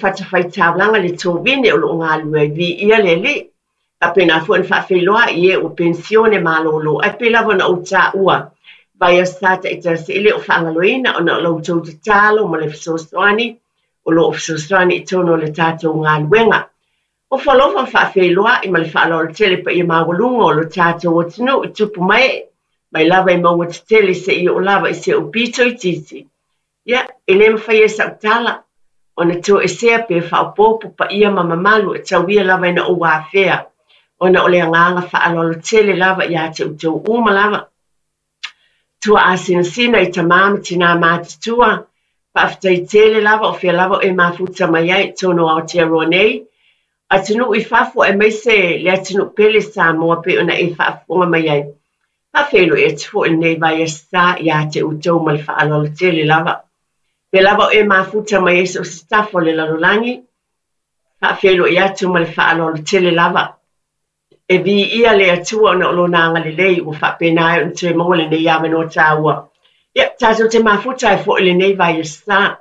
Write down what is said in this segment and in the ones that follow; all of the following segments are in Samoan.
Fatafaitaulaga le tovine o lo o galulue ai. Viia le Alii. Faapena foi ona faafeiloai i e ua penisione malolo. Ae pei lava ona ou taua vaiaso sa taitasi, e le o faagaloina ona o la outou tatalo ma le fesoasoani o lo o fesoasoani i totonu o le tatou galuega. Ofo alofa ma faafeiloai ma le faaaloalo tele i le paia maualuga o lo tatou atunuu i tupu ma ee, mai lava i mauga tetele seia oo lava i si ou pito itiiti. Ia, e le mafai e sau tala ona toesea pe faaopoopo paia ma mamalu e tau ia lava ina ou afea, ona o le agaga faaaloalo tele lava ia te outou uma lava. Tuaasinasina i tamā ma tinā matutua, faafetai tele lava o fea lava o e mafuta mai ai i totonu o Aotearoa nei, atunuu i fafo aemaise le atunuu pele Samoa pei ona e faafofoga mai ai. Faafeiloai atu foi i lenei vaiaso sa ia te outou ma le faaaloalo tele lava. Fea lava o e mafuta mai ai so o se tafa o le lalolagi, faafeiloai atu ma le faaaloalo tele lava. E viia le Atua ona o Lona agalelei ua faapena ai ona toe maua lenei avanoa taua. Ia, tatou te mafuta ai foi i lenei vaiaso sa.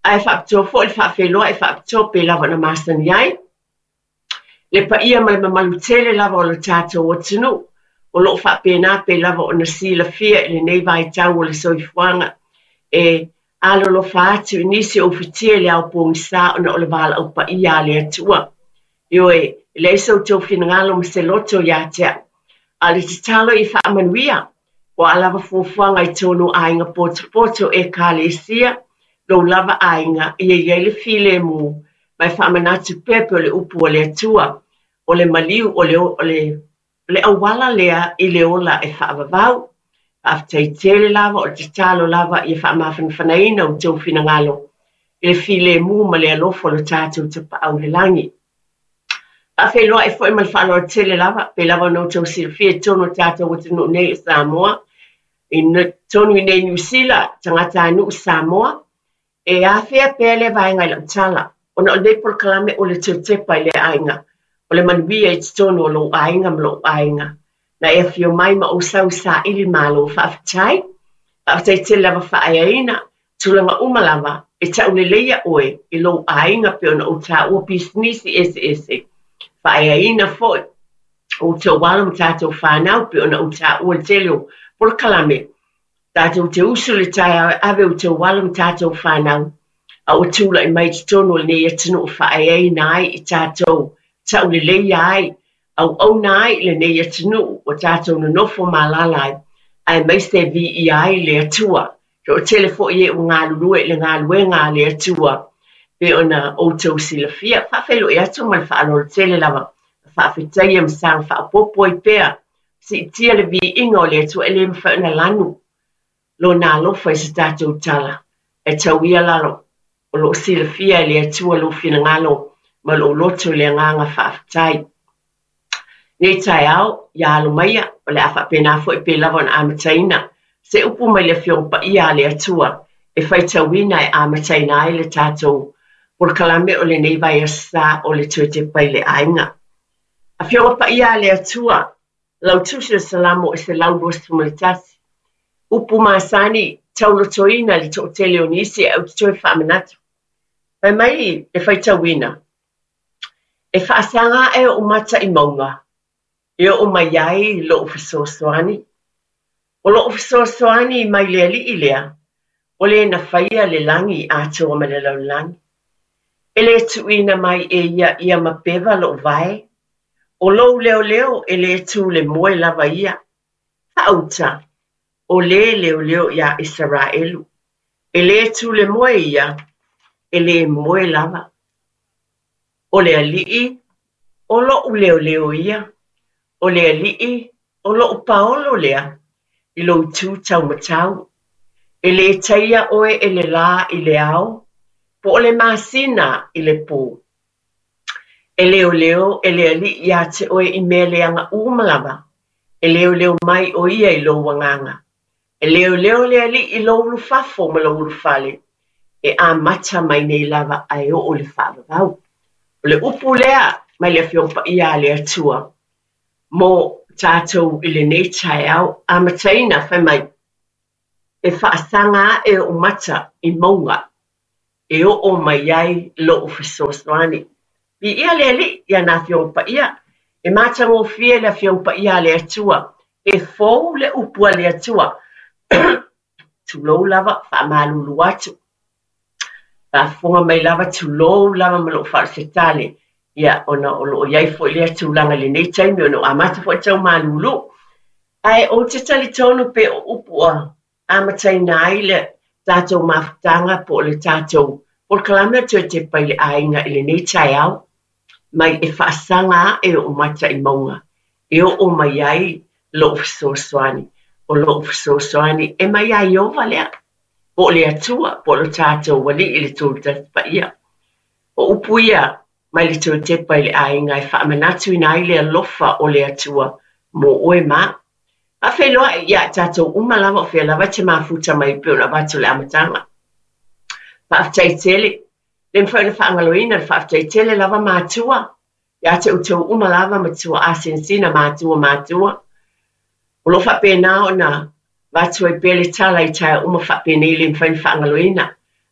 Ae faapitoa foi le faafeiloai faapitoa pei lava ona masani ai. Le paia ma le mamalu tele lava o le tatou atunuu o lo o faapena pei lava ona silafia i lenei vaitau o le soifuaga e alolofa atu i nisi o ufitia i le ao pogisa ona o le valaau paia a le Atua. Ioe, e leai so outou finagalo ma se loto ia te au, a o le tatalo ia faamanuia, o a lava fuafuaga i tonu o aiga potopoto, Ekalesia, lou lava aiga, ia i ai le filemu, ma e faamanatu pea pei o le upu a le Atua, o le maliu, o le, o le, o le auala lea i le ola e faavavau. Faafetai tele lava, o le tatalo lava ia faamafanafanaina outou finagalo i le filemu ma le alofa o lo tatou Tapaau i le lagi. Faafeiloai foi ma le faaaloalo tele lava, pei lava ona outou silafia i totonu o le tatou atunuu nei o Samoa, i totonu i nei Niu Sila, tagatanuu Samoa, e afea pea lea vaega i lau tala, ona o lenei polokalame o le toe tepa i le aiga, o le manuia i totonu o lou aiga ma lou aiga. Na e afio mai ma ou sau i saili malo, faafetai. Faafetai tele lava faaeaina, tulaga uma lava, e tauleleia oe i lou aiga pei ona ou taua pisinisi eseese. Faaeaina foi outou alo ma tatou fanau pei ona ou taua i le tele o polokalame. Tatou te usu i le taeao e ave outou alo ma tatou fanau, a ua tulai mai i totonu o lenei atunuu faaeaina ai i tatou, tauleleia ai, auauna ai i lenei atunuu ua tatou nonofo ma alaala ai, aemaise viia ai le Atua. Toatele foi e ua galulue i le galuega a le Atua, pei ona outou silafia. Faafeiloai atu ma le faaaloalo tele lava, faafetaia ma saga faaopoopo ai pea Siitia le viiga o le Atua e le mafai ona lanu Lona alofa i se tatou tala. Ae tau ia lalo, o lo o silafia e le Atua lou finagalo ma lou loto i le agaga faafetai. Nei taeao, ia alo maia, o le a faapena foi pei lava ona amataina se upu mai le Afioga Paia a le Atua e faitauina e amataina ai le tatou polokalame o lenei vaiaso sa o le Toe Tepa i le Aiga. Afioga Paia a le Atua, lau Tusi o Salamo e 121. Upu masani, taulotoina i le toatele o nisi ae ou te toe faamanatu. Fai mai le faitauina, E faasaga ae ou mata i mauga, e oo mai ai lou fesoasoani. O lou fesoasoani mai le Alii lea, o le na faia le lagi atoa ma le lalolagi. E le tuuina mai e ia ia mapeva lou vae. O lou leoleo e le tu le moe lava ia. Faauta, o le leoleo iā Isaraelu. E le tu le moe ia, e le moe lava. O le Alii, o loʻu leoleo ia, o le Alii, o loʻu paolo lea i lou itu taumatau. E le taia oe e le lā i le ao, po o le masina i le pō. E leoleo e le Alii iā te oe i mea leaga uma lava, e leoleo mai ʻo ia i lou agaga. E leoleo le Alii i lou ulufafo ma lou ulufale, e amata mai nei lava a e oo i le faavavau. O le upu lea mai le Afioga Paia a le Atua mo tatou i lenei taeao amataina, fai mai, E faasaga ae ou mata i mauga. e oo mai ai lo'u fesoasoani. Viia le Alii i ana Afioga Paia, e matagofie le Afioga Paia a le Atua, e fou le upu a le Atua. Tulou lava, faamalulu atu. Faafofoga mai lava, tulou lava ma lou faasetale, ia, ona o lo o i ai foi lea tulaga i lenei taimi, ona ua amata foi tau malulu. Ae ou te talitonu pe o upu ua amataina ai le tatou mafutaga po o le tatou polokalame o Toe Tepa i le Aiga i lenei taeao, mai e faasaga ae ou mata i mauga e oo mai ai lou fesoasoani. O lou fesoasoani e mai ia Ieova lea, po o le Atua, po o lo tatou Alii i le Tolutasi Paia. O upu ia mai le Toe Tepa i le Aiga e faamanatuina ai le alofa o le Atua mo oe ma au. Faafeiloai ia i tatou uma lava o fea lava e te mafuta mai e pei ona avatu i le amataga. Faafetai tele. Le mafai ona faagaloina le faafetai tele lava matua ia te outou uma lava matua asinasina matua matua. O lo o faapena ona avatu ai pea le tala i taeao uma faapenei le mafai ona faagaloina.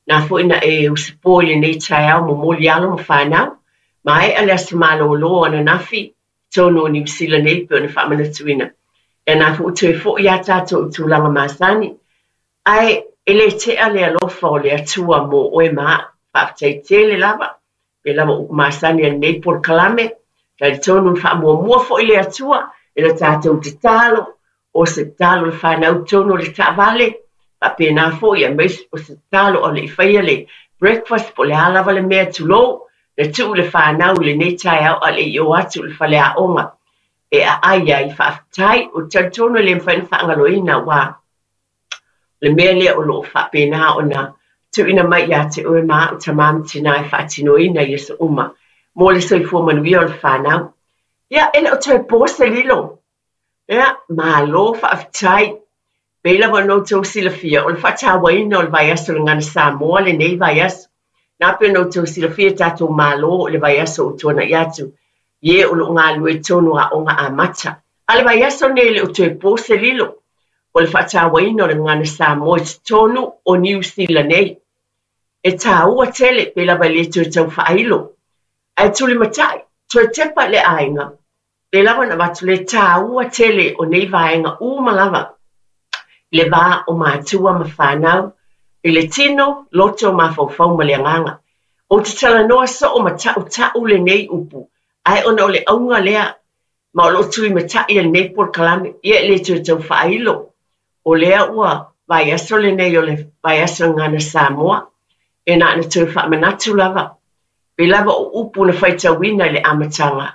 Na foi na e usupo i lenei taeao momoli alo ma fanau. Maea le aso malolo ananafi i totonu o Niu Sila nei pei ona faamanatuina. Ia na foi ua toe foi lava tatou i tulaga masani. Ae e le tea le alofa o le Atua mo oe ma au. Faafetai tele lava. Pei lava o upu masani a lenei polokalame, talitonu na faamuamua foi le Atua i le tatou tatalo, o se tatalo i le fanau i totonu o le taavale, faapena foi aemaise o se tatalo a o le i faia le breakfast po o le a lava le mea, tulou, na tuu le fanau i lenei taeao a o le i o atu i le faleaoga e aai ai. Faafetai, ou te talitonu e le mafai ona faagaloina aua o le mea lea o lo o faapena ona tuuina mai ia te oe ma au tama ma tinā e faatinoina i aso uma mo le soifua manuia o le fanau. Ia, e le o toe po se lilo. Ia, malo faafetai. Pei lava ona outou silafia, o le faatauaina o le vaiaso o le Gagana Samoa lenei vaiaso. Na pei ona outou silafia e tatou Malo i le vaiaso ua tuanai atu, i e o lo o galulue i totonu o aoga amata. A o le vaiaso lenei e le o toe po se lilo, o le faatauaina o le Gagana Samoa i totonu o Niu Sila nei. E taua tele, pei lava e le toe tau faailo. Ae tulimatai, toe tepa i le aiga, pei lava ona avatu le taua tele o nei vaega uma lava i le va o matua ma fanau, i le tino, loto, mafaufau ma le agaga. Ou te talanoa soo ma tautau lenei upu, ae ona o le auga lea ma o lo o tulimatai e lenei polokalame, ia e le toe tau faailo. O lea ua vaiaso lenei o le vaiaso Gagana Samoa, e na ona toe faamanatu lava, pei lava o upu na faitauina i le amataga,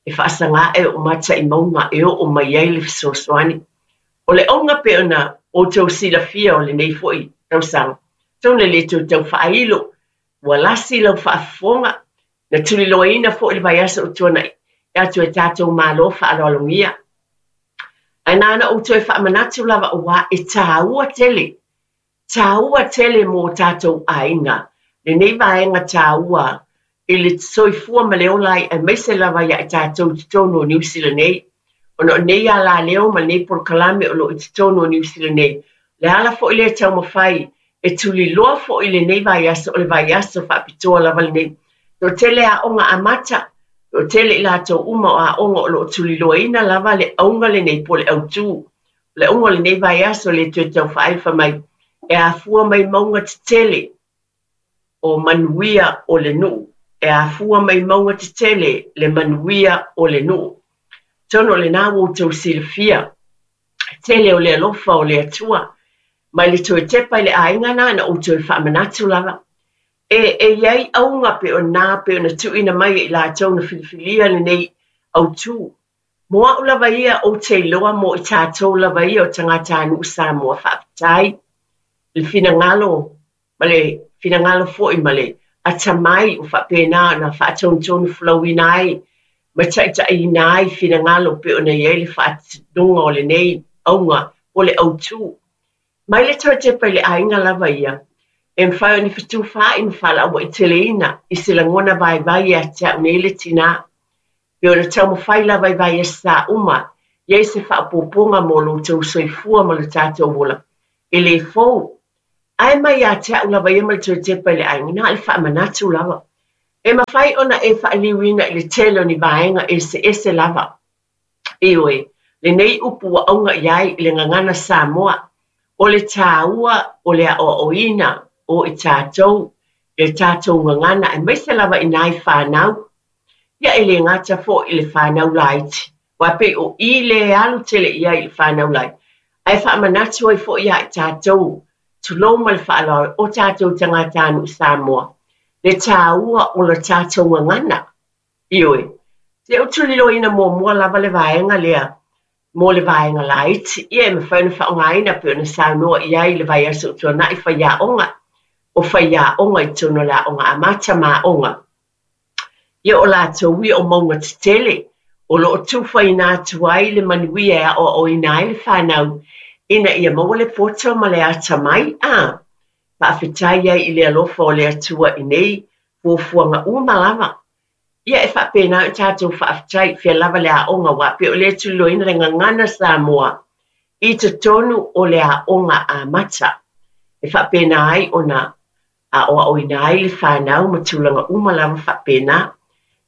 e faasaga ae ou mata i mauga e oo mai ai le fesoasoani. O le auga pei ona outou silafia o lenei foi tausaga, atonu e le toe tau faailo, ua lasi lau faafofoga, na tuliloaina foi le vaiaso ua tuanai atu e tatou Malo faaaloalogia. Ae na ona ou toe faamanatu lava aua e taua tele, taua tele mo tatou aiga lenei vaega taua i le soifua ma le ola ai aemaise lava ia i tatou i totonu o Niu Sila nei. Ona o nei alaleo ma lenei polokalame o lo o i totonu o Niu Sila nei, o le ala foi lea e taumafai e tuliloa foi lenei vaiaso, o le vaiaso faapitoa lava lenei. Toatele aoga amata, toatele i latou uma o aoga o lo o tuliloaina lava le auga lenei po o le autū. O le auga o lenei vaiaso le toe tau faailo fai mai, e afua mai mauga tetele o manuia o le nuu. E afua mai mauga tetele le manuia o le nuu. Atonu o lena ua outou silafia tele o le alofa o le Atua. Mai le toe tepa i le aiga na na ou toe faamanatu lava. E, e i ai auga pe o na pe ona tuuina mai e i latou na filifilia lenei autū. Mo au lava ia ou te iloa mo i tatou lava ia o tagatanuu Samoa faafetai i le finagalo ma le finagalo foi ma le atamai ua faapena ona faatonutonu folauina ai ma taitaiina ai finagalo pei ona i ai le faatinoga o lenei auga po o le autū. Mai le toe tepa i le aiga lava ia, e mafai ona fetufaai ma faalauaiteleina i se lagona vaivai ia te au nei le tinā. Pei ona taumafai lava i vaiaso uma, i ai se faaopoopoga mo lo outou soifua ma lo tatou ola. E le fou. Ae mai ia te a'u lava ia ma le toe tepa i le aiga, na o le faamanatu lava. E mafai ona e faaliliuina i le tele o ni vaega eseese lava. Ioe, lenei upu ua auga i ai i le gagana Samoa, o le tāua o le aoaoina o i tatou i le tatou gagana aemaise lava i nai fanau. Ia e le gata foi i le fanau laiti, aua pei o i lea e alu tele i ai i le fanau laiti, ae faamanatu ai foi ia i tatou, tulou ma le faaaloalo, o tatou tagatanuu Samoa, le tāua o le tatou gagana. Ioe, se ou tuliloaina muamua lava le vaega lea mo le vaega laiti, ia e mafai ona faaaogaina pei ona saunoa i ai i le vaiaso ua tuanai faiaoga, o faiaoga i totonu o le aoga amata ma aoga. Ia o latou ia o mauga tetele o lo o tufaina atu ai le manuia e aoaoina ai le fanau ina ia maua le poto ma le atamai. A faafetai ai i le alofa o le Atua i nei fuafuaga uma lava. Ia e faapena ona tatou faafetai i fea lava le aoga aua pei o lea e tuliloaina le gagana Samoa i totonu o le aoga amata e faapena ai ona aoaoina ai le fanau ma tulaga uma lava faapena.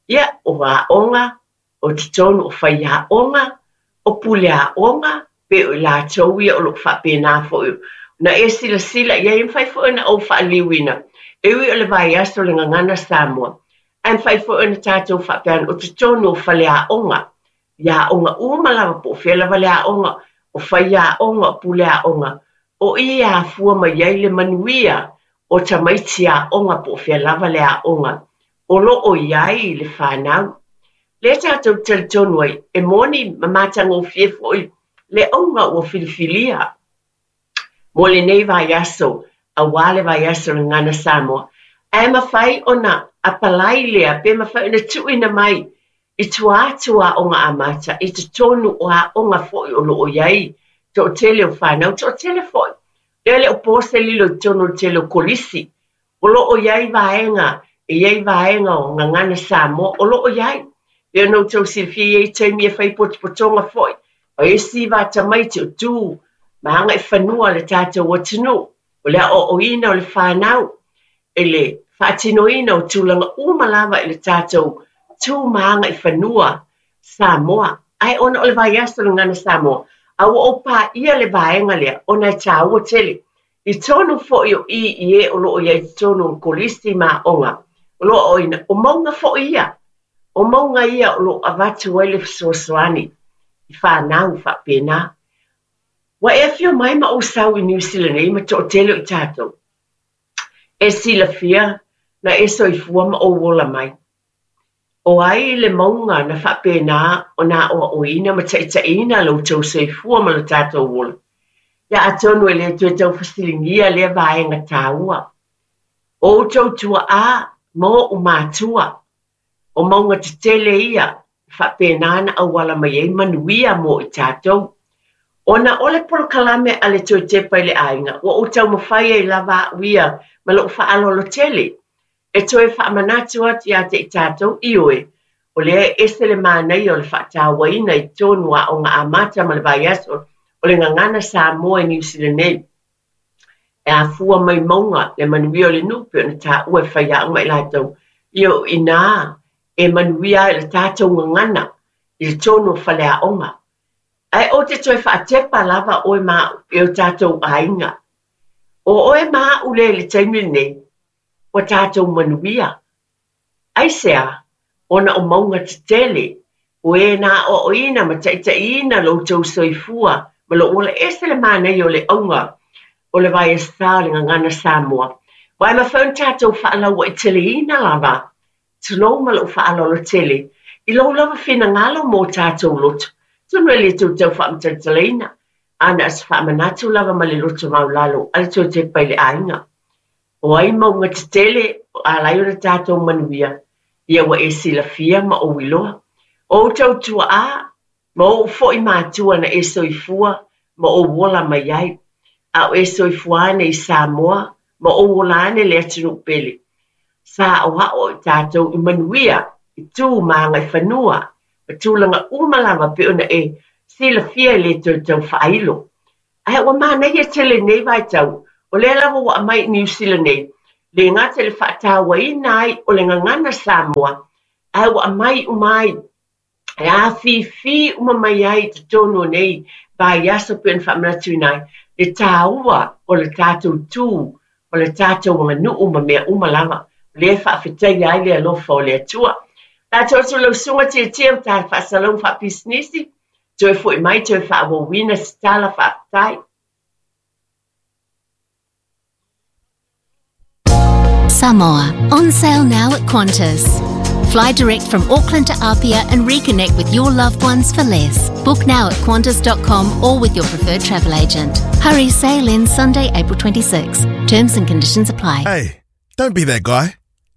Ia, o aoga, o totonu o faiaoga, o puleaoga, pei o i latou ia o lo o faapena foi ona e silasila i ai. E mafai foi ona ou faaliliuina, e ui o le vaiaso o le Gagana Samoa, ae mafai foi ona tatou faapea ane, o totonu o faleaoga, i aoga uma lava, po o fea lava le aoga, o faiaoga, o puleaoga, o i e afua mai ai le manuia o tamaiti aoga po o fea lava le aoga o lo o i ai le fanau. Lea tatou te talitonu ai, e moni ma matagofie foi le auga ua filifilia mo lenei vaiaso, aua le vaiaso o le Gagana Samoa, ae mafai ona apalai lea pe mafai ona tuuina mai i tua atu o aoga amata, i totonu o aoga foi o lo o i ai toatele o fanau, toatele foi. Lea e le o po se lilo i totonu o le tele o kolisi, o lo o i ai vaega, e i ai vaega o Gagana Samoa, o lo o i ai. Pei ona outou silafia e i ai taimi e fai potopotoga foi, o isi va tamaiti o tu ma agaifanua le tatou atunuu, o le aoaoina o le fanau i le faatinoina o tulaga uma lava i le tatou tu ma agaifanua Samoa. Ae ona o le vaiaso o le Gagana Samoa, a ua ou paia le vaega lea ona e tāua tele. I tonu foi o i i e o lo o i ai i totonu o kolisi ma aoga, o lo o aoaoina, o mauga foi ia. O mauga ia o lo o avatu ai le fesoasoani i fanau faapena. Ua e afio mai ma ou sau i Niu Sila nei ma toatele o i tatou. E silafia na e soifua ma ou ola mai. O ai le mauga na faapena ona aoaoina ma taitaiina lo outou soifua ma lo tatou ola? Ia atonu e le toe tau fesiligia lea vaega taua. O outou tuaa ma ou matua, o mauga tetele ia e faapena ona auala mai ai manuia mo i tatou. Ona o le polokalame a le Toe Tepa i le Aiga, ua ou taumafai ai lava a'u ia ma lo'u faaaloalo tele e toe faamanatu atu ia te i tatou, ioe, o lea e ese le manaia o le faatauaina i totonu o aoga amata ma le vaiaso o le Gagana Samoa i Niu Sila nei. E afua mai mauga le manuia o le nuu pei ona taua e faiaoga i latou, ia o i inā e manuia ai le tatou gagana i totonu o faleaoga. Ae ou te toe faatepa lava oe ma a'u e o tatou aiga. O oe ma a'u lea i le taimi lenei, ua tatou manuia. Aisea? Ona o mauga tetele, o e na aoaoina ma taitaiina lo outou soifua ma lou ola. E ese le manaia o le auga o le vaiasa o le Gagana Samoa. Aua e mafai ona tatou faalauaiteleina lava, tulou ma lou faaaloalo tele, i lou lava finagalo mo tatou loto. Atonu e le toe tau faamatalatalaina, a na o se faamanatu lava ma le loto maualalo a le Toe Tepa i le Aiga. O ai mauga tetele o ala ai ona tatou manuia, ia ua e silafia ma ou iloa. O outou tuaa ma ou foi matua na e soifua ma ou ola mai ai, a o e soifua ane i Samoa ma ou ola ane le atunuu pele. Sa aoao i tatou i manuia, i tu ma agaifanua, ma tulaga uma lava pei ona e silafia e le toe tau faailo. Ae ua manaia tele i lenei vaitau O lea lava ua aumai i Niu Sila nei, le gata i le faatauaina ai o le gagana Samoa, ae ua aumai uma ai e afifi uma mai ai i totonu o nei vaiaso pei ona faamanatuina ai le taua o le tatou tu, o le tatou aganuu ma mea uma lava. O lea e faafetaia ai le alofa o le Atua. Tatou atu lau susuga Tietie ma ta faasalauga faapisinisi, toe foi mai toe faaauauina se tala faafetai. Samoa, on sale now at Qantas. Fly direct from Auckland to Apia and reconnect with your loved ones for less. Book now at qantas.com or with your preferred travel agent. Hurry, sale ends Sunday, April 26. Terms and conditions apply. Hey, don't be that guy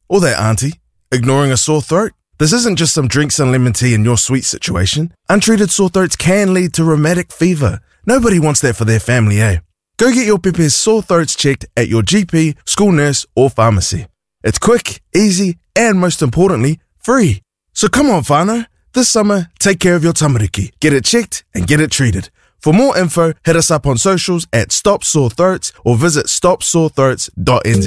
or that auntie ignoring a sore throat. This isn't just some drinks and lemon tea in your sweet situation. Untreated sore throats can lead to rheumatic fever. Nobody wants that for their family, eh? Go get your pepe's sore throats checked at your GP, school nurse, or pharmacy. It's quick, easy, and most importantly, free. So come on, whānau. This summer, take care of your tamariki. Get it checked and get it treated. For more info, hit us up on socials at Stop Sore Throats or visit stopsorethroats.nz.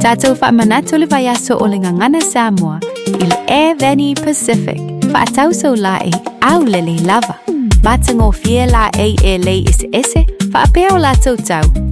Tātou whaamanatu le vaiaso o le Gagana Samoa i le Air Veni Pacific. Faatau la e au lelei lava. Matagofie la ei e lei eseese, faapea o latou tau.